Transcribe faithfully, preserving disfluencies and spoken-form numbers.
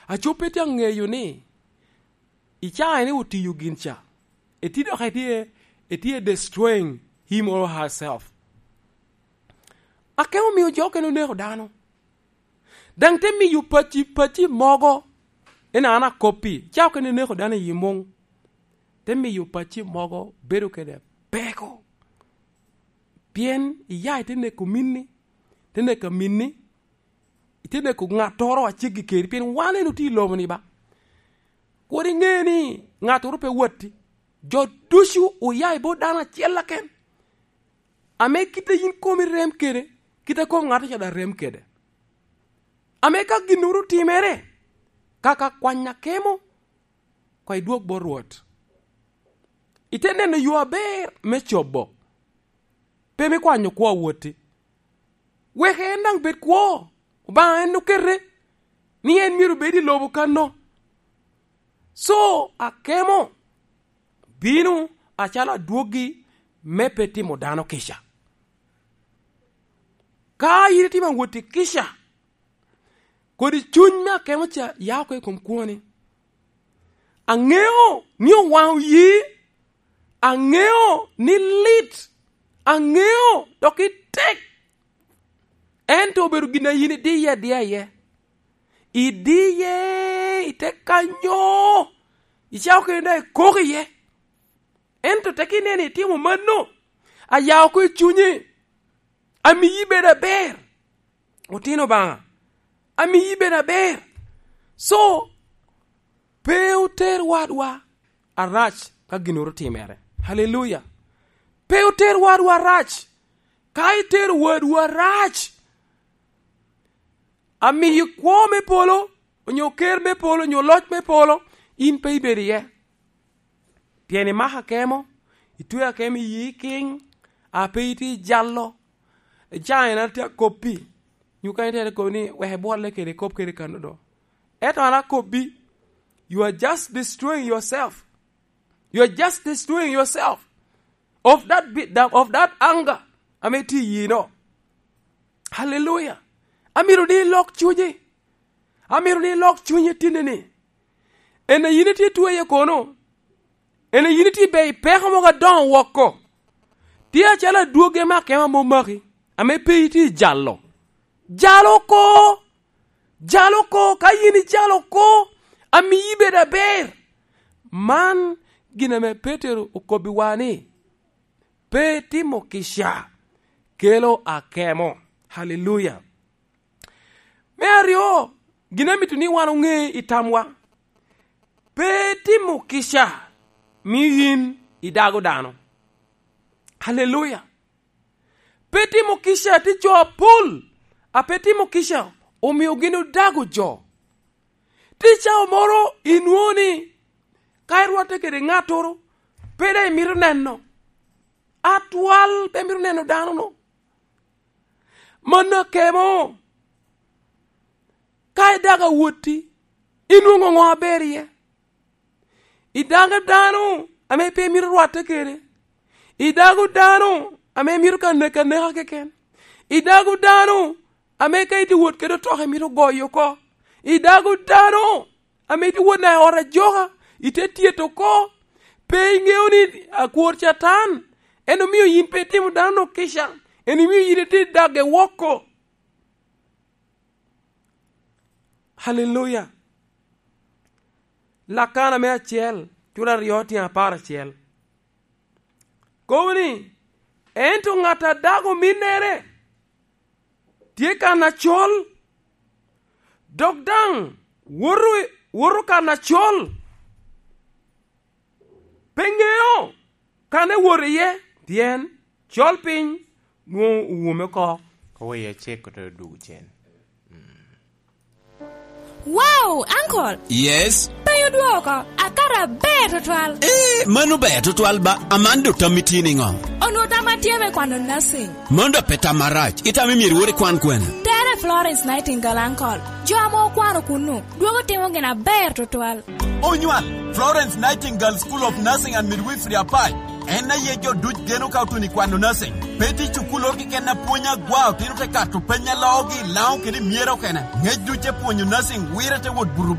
Aco pe tye aŋeyo ni i caa en otiyo gin ca, etye dok etye, etye destroying him or herself. Akemo omio jo okene oneko dano. Daŋ te miyo pacci, pacci mogo, en an akoppi, ca okene oneko dano i muŋ. Te miyo pacci mogo bedo kede peko. Pien iya ite neko minni, te neko minni, ite neko ŋattoro a ceggi keri, pien wan en otye i lobo-ni ba. Kur iŋe ni ŋattoro pe watti. Jo ducu oya i bot dano acel aken, ame kite yin komi rem kede, kite kom ŋato ca daŋ rem kede. Ame ka ginnoro otimere, kaka kwany akemo, koŋ idwog bot Rwot. Ite neno yo aber me cobo, pe me kwanyo kwo a woti. Wek en daŋ bed kwo, Obaŋa en okete ni en myero bed i lobo kanno. So, akemo bino acalo adwoggi me pe timo dano kica. Ka yin itimo awot i kica, kodi cuny me akemo ca ya oko i kom kwoni. Aŋeo ni owaŋo yi, aŋeo ni lit, aŋeo dok itek. Ento obedo gin a yin idiye adiya iye. Idiye, ite kanyo, icako kede daŋ ikok iye. Ento tek ineno itimo mano, aya oko i cunyi, amiyi bedo aber. Otino Obaŋa, amiyi bedo aber. So, pe oter wadwa arac ka ginnoro otimere. Haleluya. Pe oter wadwa arac. Ka itero wadwa arac, amiyi kwo me polo, onyo ker me polo, onyo loc me polo, in pe ibedo iye. Pien imako akemo, itweo akemo i yi kiŋ, a pe itye jalo. Ca en atye akoppi, nyo ka itere kop ni wek ibwolle kede, kop kede kano do. Ento an akobbi, you are just destroying yourself. You are just destroying yourself of that bi-, that, of that anger ame tye i yino. Haleluya. Amito ni ilok cunyi. Amito ni ilok cunyi tinni-ni. En a yin itye tweye kono? En a yin itye i bei peko mogo adoŋo woko? Tye acalo adwogi ame akemo ame omaki, ame pe itye i jalo. Jalo oko! Jalo oko! Ka yin ijalo oko, amiyi bedo aber. Man gin ame Petero okobbiwa ni, pe timo kica kelo akemo. Haleluya. Me aryo, gin amito ni wan oŋe i tamwa, pe timo kica mio yin idago dano. Haleluya. Pe timo kica, tye jo apol a pe timo kica omio gin odago jo. Tye cawa moro inwoŋo ni ka irwatte kede ŋattoro, pe daŋ imito neno. Atwal pe imito neno dano-nu. Mano akemo. Ka idago awotti, inwoŋo ŋo aber iye? Idago dano ame pe imito rwatte kede. Idago dano ame imito ka neka aneka keken. Idago dano ame ka itye wot kede otoka imito goyo oko. Idago dano ame itye wot naka i ot ajoka, ite tyeto oko. Pe iŋeo ni akwor Catan en omio yin pe itimo dano-nu kica, en omio yin itye dage woko. Haleluya. Lakana me acel, cura aryo tyen apar acel. Kobo ni, ento ŋat a dago ominnere tye kan acol, dok daŋ woto, woto kan acol. Pe ŋeo kan ewot iye, pien col piny nwoŋo owume oko. Oweyo acek ote odugo cen. Wow, Uncle! Yes? Penyo dwoko, akato aber tutwal. Eh, mano ber tutwal ba, aman do tammi tye niŋo? Onwoŋo tamma tye me kwano nursing. Mano dok pe tam arac, itamo myero iwot ikwan kwene? Tere Florence Nightingale, Uncle. Jo ame okwano kunnu, dwogo timo gin aber tutwal. Onywal, Florence Nightingale School of Nursing and Midwifery Apac. En aye jo duc geno ka otuno i kwano nursing. Pe tye cukulloro keken a pwonyo agwa, otino te kato peny a loogi i Laŋo kede i Myera okene. Ŋec duc te pwonyo nursing wire te wot buto